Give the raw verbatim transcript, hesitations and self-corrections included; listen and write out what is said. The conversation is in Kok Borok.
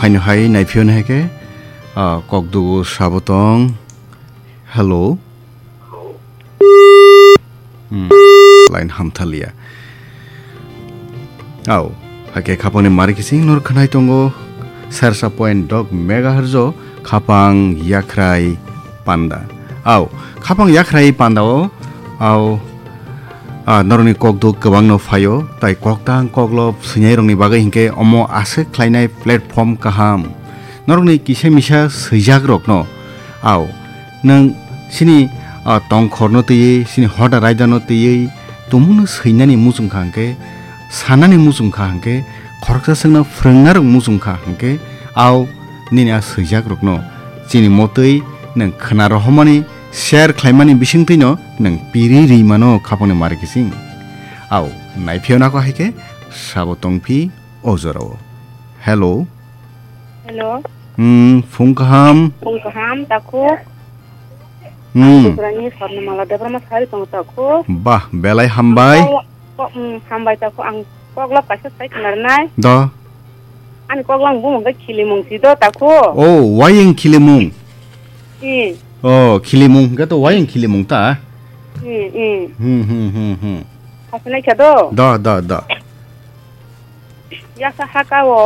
Phaino hai naiphiyoni hai khe, ah, kokdugu sabo tong. Hello. Hmm, line hamthalia. Au, hai khe khapangni mari kising nor khnai tongo. Sersa point dok megahertz o khapang yakhrai panda. Au, khapang yakhrai panda o, au, ah, norokni kokduk kwbangno phaio, tai koktang koklop swinai rokni bagwi hinkhe omo aswk khlainai platform kaham. Norokni kisa misa swijak rokno, au, nwng chini, ah, tongkhorno twiwi, chini hoda raidano twiwi, tumungno swinani muchung kha hinkhe, sanani muchung kha hinkhe, khoroksa swkno phwrwngna rok muchung kha hinkhe, au, nini a swijak rokno chini motwi nwng khna rohormani, share khlaimani bisingtwino nwng piri ri mano khapangni mari kising. Au, naiphiyona ko hai khe sabo tongphi o jorao. Hello. Hello. Hmm, phung kaham. Phung kaham, takhuk. Hmm. Tripurani Swarnamala Debbarma sari tongo, takhuk. Bah, belai hambai. Kok, kok, hmm, hambai, takhuk. Ang koklop kaisa sai khna rwnai. Do. Ani koklam bumung khe khilimung si do, takhuk. Oh, wayeng khilimung. Hmm. Oh, khilimung hwnkhe to wayeng khilimung ta. Hmm, hmm. Hmm, hmm, hmm, hmm. Hasinai kha do? Do, do, do. Yasa haka o.